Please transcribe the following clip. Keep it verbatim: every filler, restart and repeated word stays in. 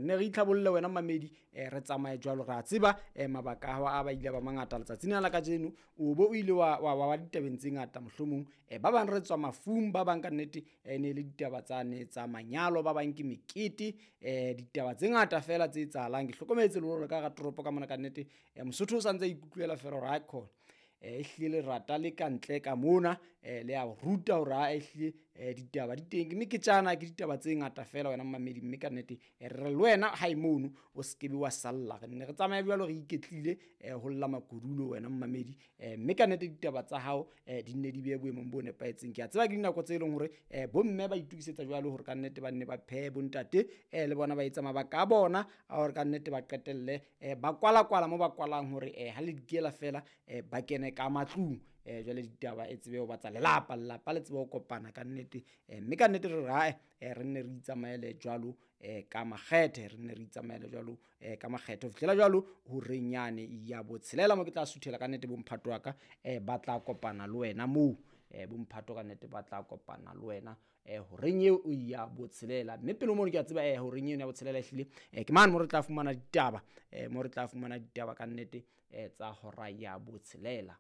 nne re itlhabolle wena mamedi, eh, re tsamaye jwalo. Re a tseba eh, mabaka a hao a ba ile ba mangata letsatsing la kajeno, o bo o ile wa wa wa ditabeng tse ngata mohlomong. Eh, ba bang re tswa mafung, ba bang ka nnete eh, ne le ditaba tsa ne tsa manyalo, ba bang ke mekete, eh, ditaba tse ngata fela tse etsahalang. Ke hlokometse le hore ka hara toropo ka mona ka nnete eh, Mosotho o santse a ikutlwela fela hore ha khona eh, ehlile lerata le ka ntle ka mona eh, le a ruta hore ha ehlile eh, ditaba di teng. Ke meketjana, ke ditaba tse ngata fela wena mmamedi, mme ka nnete eh, re le wena hae mono o se kebe wa salla. Re nne re tsamaye jwalo re iketlile eh, ho lla makodulo wena mmamedi, eh, mme ka nnete ditaba tsa hao eh, di nne di be boemong bo nepahetseng. Ke a tseba ke dinako tse leng hore eh, bomme ba itokisetsa jwalo hore ka nnete ba nne ba phehe, bontate eh, le bona ba etsa mabaka a bona a hore ka nnete ba qetelle eh, ba kwala-kwala mo ba kwalang hore eh, ha le dikela fela eh, ba kene ka matlung. Eh, jwale ditaba e tsebe ho ba tsa lelapa, lelapa le tsebe ho kopana ka nnete, eh, mme ka nnete re re hae eh, re nne re itsamaele jwalo eh, ka makgethe, re nne re itsamaele jwalo eh, ka makgethe ho fihlela jwalo horeng yane ya botshelela mo ke tla suthela ka nnete bomphato wa ka eh, ba tla kopana le wena moo eh, bomphato ka nnete ba tla kopana le wena eh, horeng eo ya botshelela. Mme pele mono ke a tseba eh, horeng eo ya botshelela ehlile eh, ke mane mo re tla fumana ditaba eh, mo re tla fumana ditaba ka nnete eh, tsa hora ya botshelela.